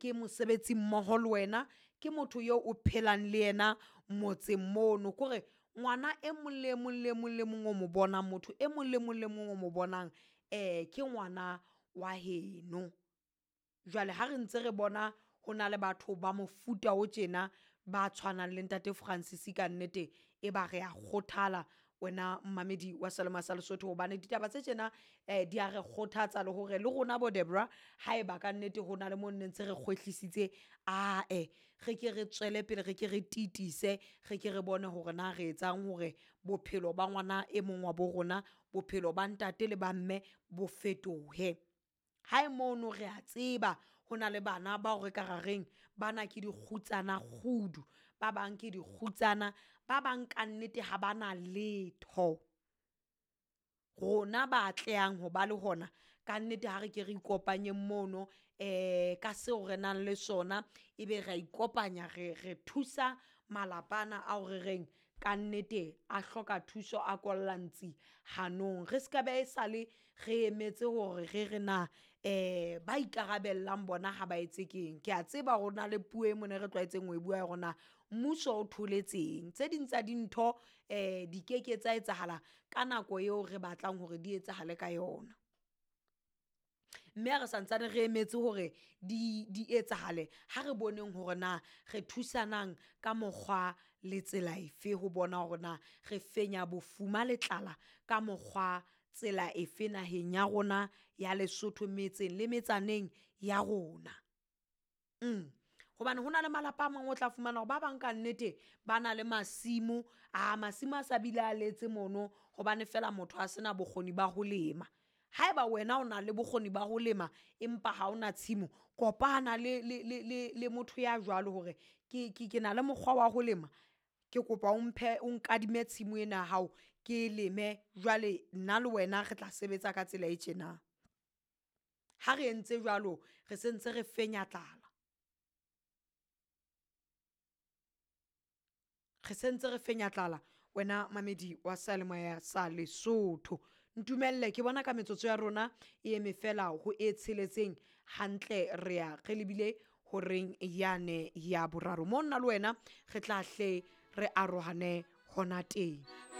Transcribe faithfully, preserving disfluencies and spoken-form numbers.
Ke mosebetsi mmoho le wena, ke motho eo o phelang le yena motseng mono. Kore ngwana e mong le mong le mong le mong o mo bonang, motho e mong le mong le mong o mo bonang um ke ngwana wa heno. Jwale ha re ntse re bona ho na le batho ba mofuta o tjena ba tshwanang le ntate Francis kannete e ba re a kgothala wena mmamedi wa Selema sa Lesotho, hobane ditaba tse tjena um di a re kgothatsa le hore le rona bo Debra haeba kannete ho na le mo nne ntse re kgwehlisitse, ae re ke re tswele pele, re ke re tiise, re ke re bone hore na re etsang hore bophelo ba ngwana e mong wa bo rona, bophelo ba ntate le ba mme bo fetohe. Hae mono re a tseba ho na le bana bao re ka ra reng bana ke dikgutsana kgudu, ba bang ke dikgutsana, ba bang kannete ha ba na letho. Rona ba atlehang ho ba le hona kannete ha re ke re ikopanyeng mono um ka seo re nang le sona, ebe re a ikopanya re re thusa malapa ana ao re reng kannete a hloka thuso, a kolla ntsi hanong. Re ska be sale re emetse hore re re na um ba ikarabellang bona ha ba etse keng. Ke a tseba hore ho na le puo e mona e re tlwaetseng ho e bua ya hore na mmuso o tholetseng. Tse ding tsa dintho um di keke tsa etsahala ka nako eo re batlang hore di etsahale ka yona, mme ha re santsane re emetse hore di di etsahale, ha re boneng hore na re thusanang ka mokgwa le tsela efe ho bona hore na re fenya bofuma le tlala ka mokgwa tsela efe naheng ya rona ya Lesotho, metseng le metsaneng ya rona. Mm hobane ho na le malapa a mang o tla fumana hore ba bang kannete ba na le masimo a masimo a sa bile a letse mono, hobane fela motho a sena bokgoni ba ho lema. Haeba wena o na le bokgoni ba ho lema, empa ha ona tshimo, kopana le le le le le motho ya jwalo hore ke ke ke na le mokgwa wa ho lema, ke kopa o mphe o nkadime tshimo ena ya hao ke leme. Jwale nna le wena re tla sebetsa ka tsela e tjena. Ha re entse jwalo, re sentse re fenya tlala, re sentse re fenya tlala wena mamedi wa seyalemoya sa Lesotho. Ntumelle ke bona ka metsotso ya rona e eme fela ho e tsheletseng hantle, re ya re lebile horeng yane ya boraro mo nna le wena re tla hle re arohane hona teng.